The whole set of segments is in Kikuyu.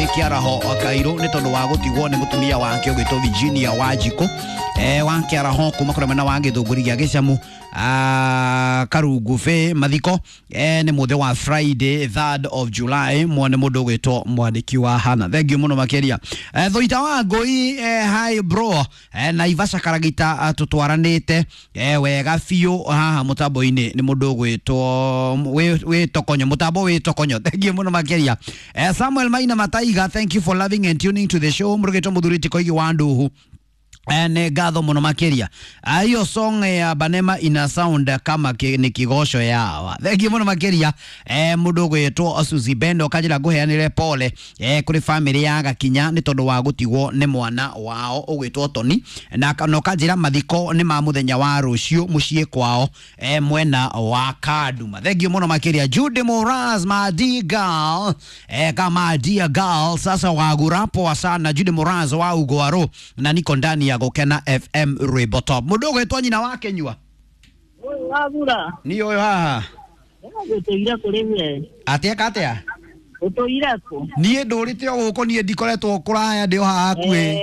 kuri Kiaraho Kairu ni tondu wa gutigwo ni mutumia wake ugitwo Virginia Wanjiku wa Kiaraho kuma kuri mwena wa Githunguri gia Gicamu Karungu Bay. Mathiko ni muthe wa Friday 3rd of July mwone mundu ugitwo mwandiki wa Hana. Thank you muno makiria. Thuita wa Ngui, hi bro, Naivasha Karagita tutwaranite wega biũ haha mutambo-inĩ ni mundu ugwitwo witokonyo mutambo witokonyo. Thank you muno makiria. Samuel Maina Mataiga, thank you for loving and tuning to the show. Murugitwo muthuri Tikoigi wa Nduhu, nĩ ngatho mũno makĩria. Hiyo song ya Banema ina sound kama ni kigosho yawa. Thank you mũno makĩria. Mũndũ ũgwĩtwo Suzy Bendo kanjĩra ngũheanĩre pole kũrĩ family ya Gakinya nĩ tondũ wa gũtigwo nĩ mwana wao ũgwĩtwo Tony, na no kanjĩra mathiko nĩ ma mũthenya wa rũciũ mũciĩ kwao mwena wa Kaduma. Thank you mũno makĩria. Jude Moraz Madigal, kama dear girl sasa wagura poa sana. Jude Moraz wa Ugwaro na niko ndani ya Gukena FM Rwimbo Top. Mundu ugwitwo nyina wa Kenyua Wagura ni uyu haha gũtũire kũrĩ we atia katia ũtũire kũ niĩ ndũrĩte o gũkũ niĩ ndikoretwo kũraya ndĩ o haha hakuhĩ.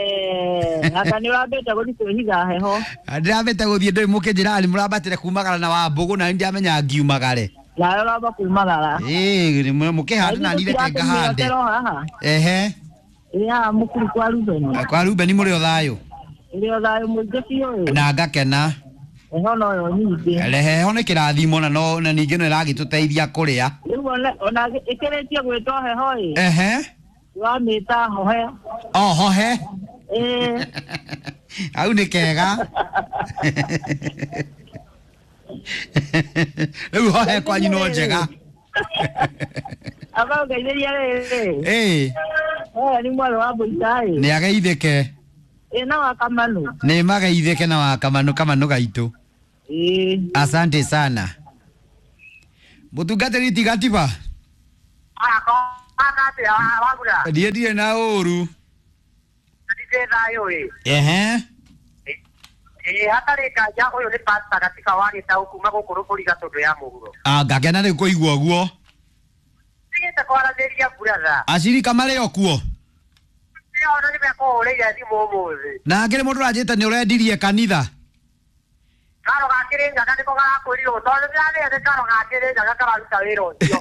Anga nĩ ũrambĩte gũthiĩ kwĩhitha heho? Ndĩrambĩte gũthiĩ ndĩ mũkĩnjĩra nĩ mũrambatĩre kumagara na wa mbũgũ na ndiamenya ngiumagare. Nawe ũramba kumagara. Ĩĩ mũkĩhande na niĩ reke ngahande. Haha. Ehe. Ĩ haha mũkuru kwa Rubeni. Kwa Rubeni mũrĩ o thayũ? Ĩrĩ o thayũ mũingĩ biũ. Na ngakena. Heho noyo nyingĩ. Heho nĩ kĩrathimo na no na ningĩ no ĩragĩtũteithia kũrĩa. Rĩu ona ĩkĩrĩtie gwĩtwo heho ĩ. Ehe. Wamĩta hohe. O hohe. Ĩĩ. Hau nĩ kega. Rĩu hohe kwanyu no njega. Aba ũngeithĩria rĩrĩ. Ĩĩ. Nĩ mwarĩ wa Mbũita ĩ. Nĩ ageithĩke. Ĩ na wa Kamanu. Nĩ mageithĩke na wa Kamanu Kamanu gaitũ. Ĩĩ. Asante sana. Mũtungatĩri tigatiba. Ndiĩ ndirĩ na ũru. Ehe. Ĩĩ hatarĩ nganja ũyũ nĩ pastor Gatika wa Gĩtaũ kuma gũkũ Rũbũri Gatũndũ ya mũhuro. Ngakena rĩu kũigua ũguo. Tigĩte kwaranĩria brother. Acirika marĩ o kuo. Ona nĩ mekũhũrĩire thimũ ũmũthĩ. Na ngĩrĩ mũndũ ũranjĩte nĩ ũrendirie kanitha. Karo ga Kĩrĩnyaga nĩko garakwĩrirwo tondũ nĩndĩramenya nĩ karo ga Kĩrĩnyaga kararuta wĩra ũcio.